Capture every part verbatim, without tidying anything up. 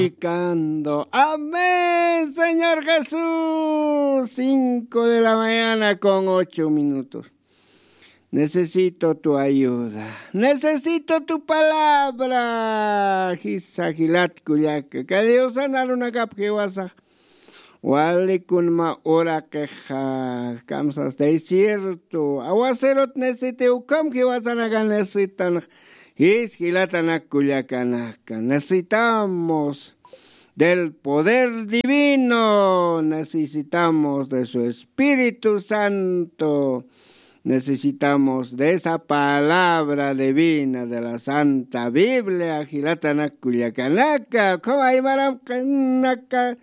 Predicando. Amén, Señor Jesús. Cinco de la mañana con ocho minutos. Necesito tu ayuda. Necesito tu palabra. Jisa jilat kullaka. Ka Diosan arunakap jiwasa. Wali kunma uraqixa, kamsas desierto, aguacerot necesite, ukham jiwasanaka necesitan, jis jilatanak kullakanaka. Necesitamos del poder divino, necesitamos de su Espíritu Santo, necesitamos de esa palabra divina de la Santa Biblia, jilatanak kullakanaka, ukham aymaram kanaka,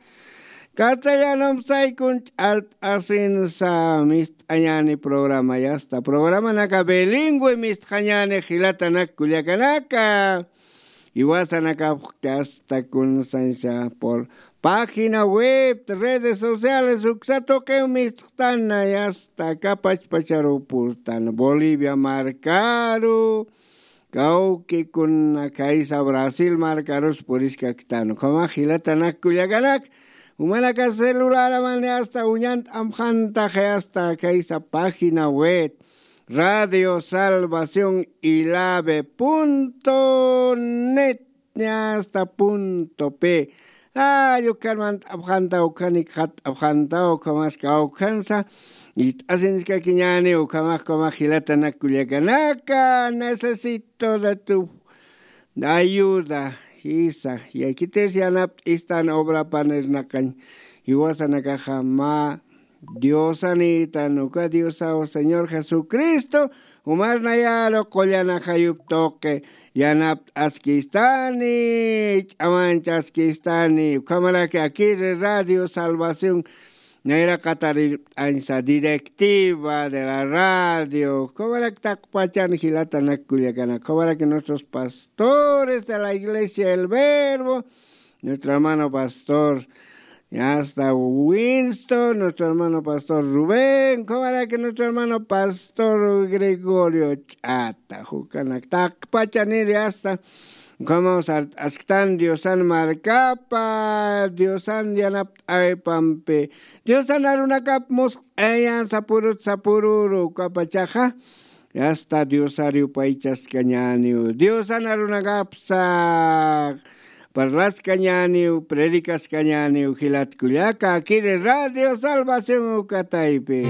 castellanum saykun ch'alt'asinsa mist'añani programa, yasta programanaka bilingüe mist'añani jilatanak kullakanaka. Iwasanakapxki asta kunsansa por página web, redes sociales, uksa tuqiw mist'tana, yasta kapachpacharu purtan Bolivia markaru, kawki kuna kaysa Brasil markarus puriskaktan. Ukhama jilatanak kullakanak, umanaka celularamani asta uñant amjantaxi asta kaysa página web, radio salvación ilave punto net, asta punto p. Ay, ukhan mant'apxantaw, ukhanik jat'apxantaw, ukhamaska ukhansa. Ist'asinskakiñani ukhamax, ukhamax jilatanak kullakanaka, necesito de tu ayuda. Jisa, yakitis yanapt'istan obra panirnaqañ. Jiwasanakaxa mä Diosanïtan, uka Diosaw Señor Jesucristo umarnayaru qullan ajayup tuqi yanapt'askistani, ch'amanchaskistani. Ukhamaraki akiri Radio Salvación nayraqatarirpt'añsa, directiva de la radio, ukhamarak taqpachan jilatanak kullakanak, ukhamaraki nuestros pastores de la iglesia El Verbo, nuestro hermano pastor, ya está Winston, nuestro hermano pastor Rubén, ukhamaraki nuestro hermano pastor Gregorio Ch'ata, ukanak taqpachaniri asta, ukhamaw sart'asktan Diosan markapa, Diosan yanapt'aypampi, Diosan arunakap musq'ayan sapurut sapururu, ukapachaxa, Yasta Diosar yupaychaskañäniw, Diosan arunakapsa parlaskañäniw, predikaskañäniw, jilat kullaka, akiri Radio Salvación uka taypi.